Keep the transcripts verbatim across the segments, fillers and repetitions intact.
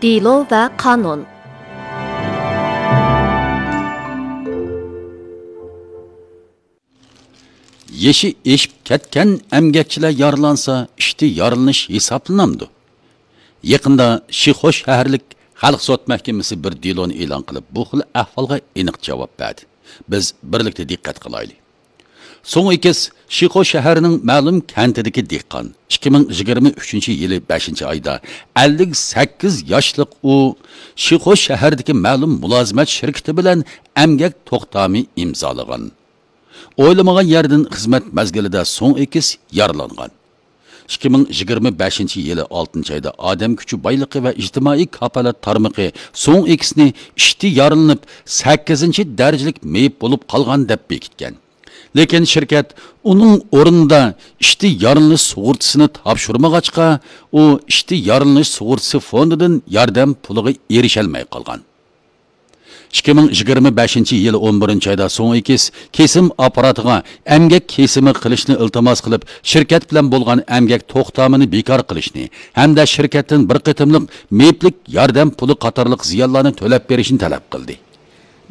دېلو ۋە قانۇن. يېشى ئېشىپ كەتكەن ئەمگەكچىلەر يارىلانسا، ئىشتا يارىلىنىش ھېسابلىنامدۇ؟ يېقىندا شىخۇ شەھەرلىك خەلق سوت مەھكىمىسى بىر دېلونى ئېلان قىلىپ، بۇ خىل ئەھۋالغا ئېنىق جاۋاب بەردى. بىز بىرلىكتە دىققەت قىلايلى. سۇڭ ئېكىس شىخۇ شەھىرىنىڭ مەلۇم كەنتىدىكى دېھقان. ئىككى مىڭ يىگىرمە ئۈچىنچى يىلى بەشىنچى ئايدا ئەللىك سەككىز ياشلىق ئۇ شىخۇ شەھىرىدىكى مەلۇم مۇلازىمەت شىركىتى بىلەن ئەمگەك توختامى ئىمزالىغان. ئويلىمىغان يەردىن خىزمەت مەزگىلىدە سۇڭ ئېكىس يارىلانغان. ئىككى مىڭ يىگىرمە بەشىنچى يىلى ئالتىنچى ئايدا ئادەم كۈچى بايلىقى ۋە ئىجتىمائىي كاپالەت تارمىقى سۇڭ ئېكىسنى ئىشتا يارىلىنىپ، سەككىزىنچى دەرىجىلىك مېيىپ بولۇپ قالغان دەپ بېكىتكەن. لېكىن شىركەت ئۇنىڭ ئورنىدا ئىشتا يارىلىنىش سۇغۇرتىسىنى تاپشۇرمىغاچقا، ئۇ ئىشتا يارىلىنىش سۇغۇرتىسى فوندىدىن ياردەم پۇلىغا ئېرىشەلمەي قالغان. ئىككى مىڭ يىگىرمە بەشىنچى يىل ئون بىرىنچى ئايدا سۇڭ ئېكىس كېسىم ئاپپاراتىغا ئەمگەك كېسىمى قىلىشنى ئىلتىماس قىلىپ، شىركەت بىلەن بولغان ئەمگەك توختامىنى بىكار قىلىشنى ھەمدە شىركەتتىن بىر قېتىملىق مېيىپلىك ياردەم پۇلى قاتارلىق زىيانلارنى تۆلەپ بېرىشنى تەلەپ قىلدى.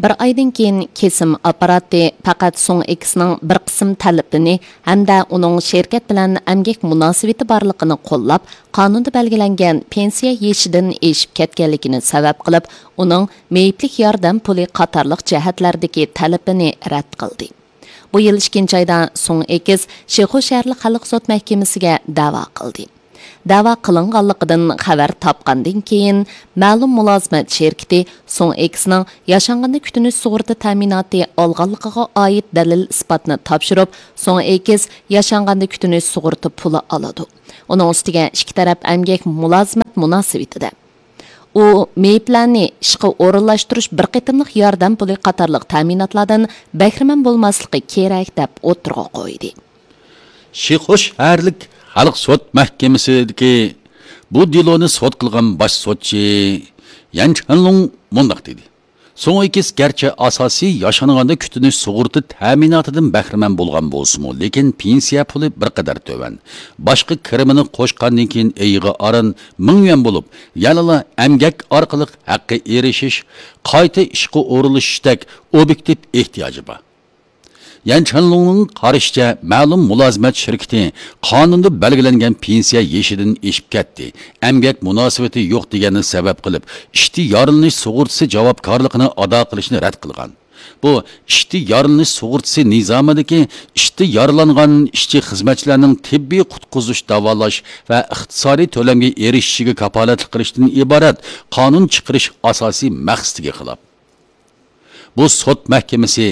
بىر ئايدىن كېيىن كېسىم ئاپپاراتى پەقەت سۇڭ ئېكسنىڭ بىر قىسىم تەلىپىنى ھەمدە ئۇنىڭ شىركەت بىلەن ئەمگەك مۇناسىۋىتى بارلىقىنى قوللاپ، قانۇندا بەلگىلەنگەن پېنسىيە يېشىدىن ئېشىپ كەتكەنلىكىنى سەۋەب قىلىپ، ئۇنىڭ مېيىپلىك ياردەم پۇلى قاتارلىق جەھەتلەردىكى تەلىپىنى رەت قىلدى. بۇ يىل ئىككىنچى ئايدا سۇڭ ئېكس شىخۇ شەھەرلىك خەلق سوت مەھكىمىسىگە دەۋا قىلدى. دەۋا قىلىنغانلىقىدىن خەۋەر تاپقاندىن كېيىن، مەلۇم مۇلازىمەت شىركىتى سۇڭ ئېكسنىڭ ياشانغاندا كۈتۈنۈش سۇغۇرتا تەمىناتى ئالغانلىقىغا ئائىت دەلىل-ئىسپاتنى تاپشۇرۇپ، سۇڭ ئېكس ياشانغاندا كۈتۈنۈش سۇغۇرتا پۇلى ئالىدۇ. ئۇنىڭ ئۈستىگە ئىككى تەرەپ ئەمگەك مۇلازىمەت مۇناسىۋىتىدە ئۇ مېيىپلەرنى ئىشقا ئورۇنلاشتۇرۇش بىر قېتىملىق ياردەم پۇلى قاتارلىق تەمىناتلاردىن بەھرىمەن بولماسلىقى كېرەك، دەپ ئوتتۇرىغا قويدى. شىخۇ شەھەرلىك خەلق سوت مەھكىمىسىدىكى بۇ دېلونى سوت قىلغان باش سوتچى يەن چېنلۇڭ مۇنداق دېدى: سۇڭ ئېكس گەرچە ئاساسىي ياشانغاندا كۈتۈنۈش سۇغۇرتا تەمىناتىدىن بەھرىمەن بولغان بولسىمۇ، لېكىن پېنسىيە پۇلى بىر قەدەر تۆۋەن. باشقا كىرىمىنى قوشقاندىن كېيىن ئېيىغا ئاران مىڭ يۈەن بولۇپ، يەنىلا ئەمگەك ئارقىلىق ھەققە ئېرىشىش، قايتا ئىشقا ئورۇنلىشىشتەك ئوبيېكتىپ ئېھتىياجى بار. يەن چېنلۇڭنىڭ قارىشىچە، مەلۇم مۇلازىمەت شىركىتى قانۇندا بەلگىلەنگەن پېنسىيە يېشىدىن ئېشىپ كەتتى، ئەمگەك مۇناسىۋىتى يوق دېگەننى سەۋەب قىلىپ، ئىشتا يارىلىنىش سۇغۇرتىسى جاۋابكارلىقىنى ئادا قىلىشنى رەت قىلغان. بۇ ئىشتا يارىلىنىش سۇغۇرتىسى نىزامىدىكى ئىشتا يارىلانغان ئىشچى خىزمەتچىلەرنىڭ تېببىي قۇتقۇزۇش، داۋالاش ۋە ئىقتىسادىي تۆلەمگە ئېرىشىشىگە كاپالەتلىك قىلىشتىن ئىبارەت قانۇن چىقىرىش ئاساسىي مەقسىتىگە خىلاپ. بۇ سوت مەھكىمىسى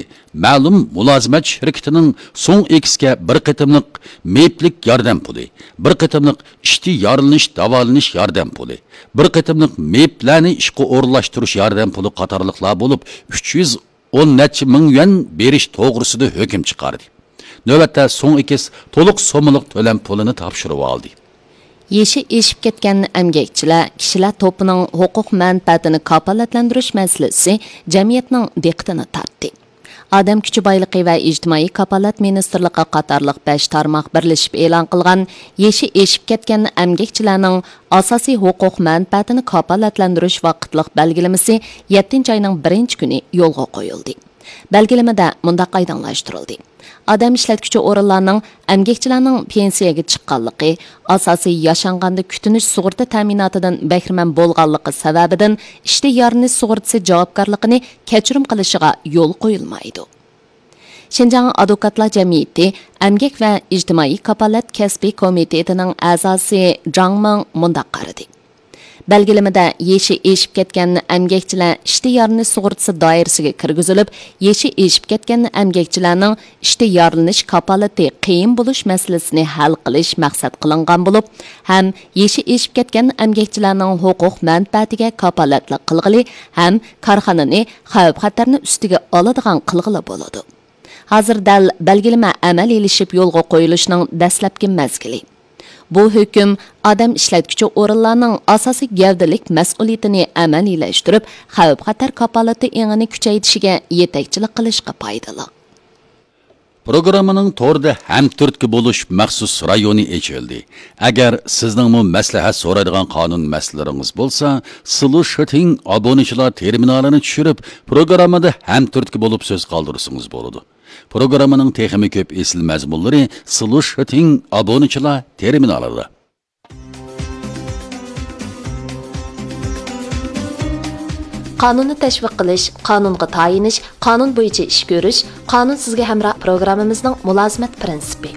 مەلۇم مۇلازىمەت شىركىتىنىڭ سۇڭ ئېكسكە بىر قېتىملىق مېيىپلىك ياردەم پۇلى، بىر قېتىملىق ئىشتا يارىلىنىش، داۋالىنىش ياردەم پۇلى، بىر قېتىملىق مېيىپلەرنى ئىشقا ئورۇنلاشتۇرۇش ياردەم پۇلى قاتارلىقلار بولۇپ، ئۈچ يۈز ئون نەچچە مىڭ يۈەن بېرىش توغرىسىدا ھۆكۈم چىقاردى. نۆۋەتتە سۇڭ ئېكس تولۇق سوممىلىق تۆلەم پۇلىنى تاپشۇرۇۋالدى. يېشى ئېشىپ كەتكەن ئەمگەكچىلەر كىشىلەر توپىنىڭ ھوقۇق مەنپەئەتىنى كاپالەتلەندۈرۈش مەسىلىسى جەمئىيەتنىڭ دىققىتىنى تارتتى. ئادەم كۈچى بايلىقى ۋە ئىجتىمائىي كاپالەت مىنىستىرلىقى قاتارلىق بەش تارماق بىرلىشىپ ئېلان قىلغان يېشى ئېشىپ كەتكەن ئەمگەكچىلەرنىڭ ئاساسىي ھوقۇق مەنپەئەتىنى كاپالەتلەندۈرۈش ۋاقىتلىق بەلگىلىمىسى يەتتىنچى ئاينىڭ بىرىنچى كۈنى يولغا قويۇلدى. بەلگىلىمىدە مۇنداق ئايدىڭلاشتۇرۇلدى: ئادەم ئىشلەتكۈچى ئورۇنلارنىڭ ئەمگەكچىلەرنىڭ پېنسىيەگە چىققانلىقى، ئاساسىي ياشانغاندا كۈتۈنۈش سۇغۇرتا تەمىناتىدىن بەھرىمەن بولغانلىقى سەۋەبىدىن ئىشتا يارىلىنىش سۇغۇرتىسى جاۋابكارلىقىنى كەچۈرۈم قىلىشىغا يول قويۇلمايدۇ. شىنجاڭ ئادۋوكاتلار جەمئىيىتى ئەمگەك ۋە ئىجتىمائىي كاپالەت كەسپىي كومىتېتىنىڭ ئەزاسى جاڭ مىڭ مۇنداق قارىدى: بەلگىلىمىدە يېشى ئېشىپ كەتكەن ئەمگەكچىلەر ئىشتا يارىلىنىش سۇغۇرتىسى دائىرىسىگە كىرگۈزۈلۈپ، يېشى ئېشىپ كەتكەن ئەمگەكچىلەرنىڭ ئىشتا يارىلىنىش كاپالىتى قىيىن بولۇش مەسىلىسىنى ھەل قىلىش مەقسەت قىلىنغان بولۇپ، ھەم يېشى ئېشىپ كەتكەن ئەمگەكچىلەرنىڭ ھوقۇق مەنپەئەتىگە كاپالەتلىك قىلغىلى ھەم كارخانىنى خەۋپ-خەتەرنى ئۈستىگە ئالىدىغان قىلغىلى بولىدۇ. ھازىر دەل بەلگىلىمە ئەمەلىيلىشىپ يولغا قويۇلۇشنىڭ دەسلەپكى مەزگىلى. بۇ ھۆكۈم ئادەم ئىشلەتكۈچى ئورۇنلارنىڭ ئاساسىي گەۋدىلىك مەسئۇلىيىتىنى ئەمەلىيلەشتۈرۈپ، خەۋپ-خەتەر كاپالىتى ئېڭىنى كۈچەيتىشىگە يېتەكچىلىك قىلىشقا پايدىلىق. پروگراممىنىڭ توردا ھەمتۈرتكە بولۇش مەخسۇس رايونى ئېچىلدى. ئەگەر سىزنىڭمۇ مەسلىھەت سورايدىغان قانۇن مەسىلىلىرىڭىز بولسا، سلۇشىتىڭ ئابۇنىچىلار تېرمىنالىنى چۈشۈرۈپ، پروگراممىدا ھەمتۈرتكە بولۇپ سۆز قالدۇرسىڭىز بولىدۇ. پروگراممىنىڭ تېخىمۇ كۆپ ئېسىل مەزمۇنلىرى سلۇشىتىڭ ئابۇنىچىلار تېرمىنالىدا. قانۇننى تەشۋىق قىلىش، قانۇنغا تايىنىش، قانۇن بويىچە ئىش كۆرۈش، قانۇن سىزگە ھەمراھ پروگراممىمىزنىڭ مۇلازىمەت پىرىنسىپى.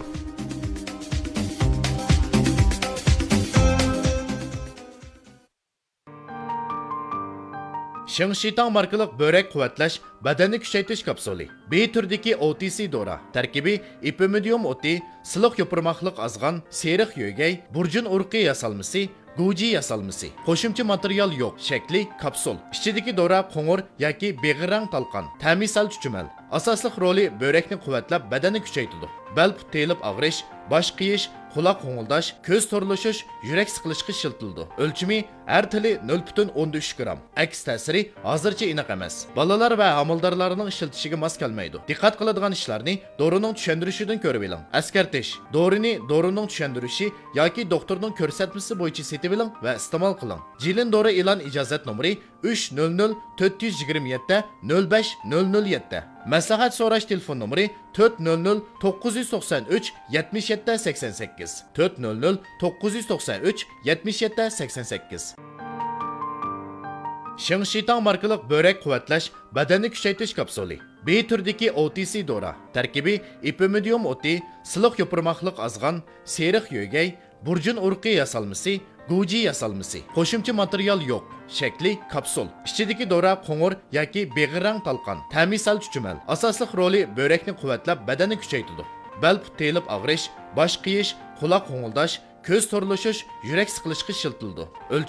شىڭشىتاڭ ماركىلىق بۆرەك قۇۋۋەتلەش، بەدەننى كۈچەيتىش كاپسۇلى. بى تۈرىدىكى ئو تى سى دورا. تەركىبى ئېپىمىدىيۇم ئوتى، سىلىق يوپۇرماقلىق ئازغان، سېرىق يۆگەي، بۇرجۇن ئۇرۇقى ياسالمىسى، گۇجى ياسالمىسى. قوشۇمچە ماتېرىيال يوق. شەكلى كاپسۇل. ئىچىدىكى دورا قوڭۇر ياكى بېغىر رەڭ تالقان. تەمى سەل چۈچۈمەل. ئاساسلىق رولى بۆرەكنى قۇۋۋەتلەپ، بەدەننى كۈچەيتىدۇ. بەل پۇت تېيىلىپ ئاغرىش، باش قېيىش، قۇلاق غوڭۇلداش، كۆز تورلىشىش، يۈرەك سىقىلىشقا ئىشلىتىلىدۇ. ئۆلچىمى ھەر تىلى نۆل پۈتۈن ئوندىن ئۈچ گرام. ئەكس تەسىرى ھازىرچە ئېنىق ئەمەس. بالىلار ۋە ھامىلىدارلارنىڭ ئىشلىتىشىگە ماس كەلمەيدۇ. دىققەت قىلىدىغان ئىشلارنى دورىنىڭ چۈشەندۈرۈشىدىن كۆرۈۋېلىڭ. ئەسكەرتىش: دورىنى دورىنىڭ چۈشەندۈرۈشى ياكى دوختۇرنىڭ كۆرسەتمىسى بويىچە سېتىۋېلىڭ ۋە ئىستېمال قىلىڭ. جىلىن دورا ئېلان ئىجازەت نومۇرى ئۈچ نۆل نۆل تۆت يۈز يىگىرمە يەتتە نۆل بەش نۆل نۆل يەتتە. مەسلىھەت سوراش تېلېفون نومۇرى تۆت نۆل نۆل توققۇز يۈز توقسان ئۈچ يەتمىش يەتتە سەكسەن سەككىز، تۆت نۆل نۆل توققۇز يۈز توقسان ئۈچ يەتمىش يەتتە سەكسەن سەككىز. شىڭشىتاڭ ماركىلىق بۆرەك قۇۋۋەتلەش، بەدەننى كۈچەيتىش كاپسۇلى. بى تۈرىدىكى ئو تى سى دورا. تەركىبى ئېپىمىدىيۇم ئوتى، سىلىق يوپۇرماقلىق ئازغان، سېرىق يۆگەي، بۇرجۇن ئۇرۇقى ياسالمىسى، گۇجى ياسالمىسى. قوشۇمچە ماتېرىيال يوق. شەكلى كاپسۇل. ئىچىدىكى دورا قوڭۇر ياكى بېغىر رەڭ تالقان. تەمى سەل چۈچۈمەل. ئاساسلىق رولى بۆرەكنى قۇۋۋەتلەپ، بەدەننى كۈچەيتىدۇ. بەل پۇت تېيىلىپ ئاغرىش، باش قېيىش، قۇلاق غوڭۇلداش، كۆز تورلىشىش، يۈرەك سىقىلىشقا ئىشلىتىلىدۇ. ئۆلچىمى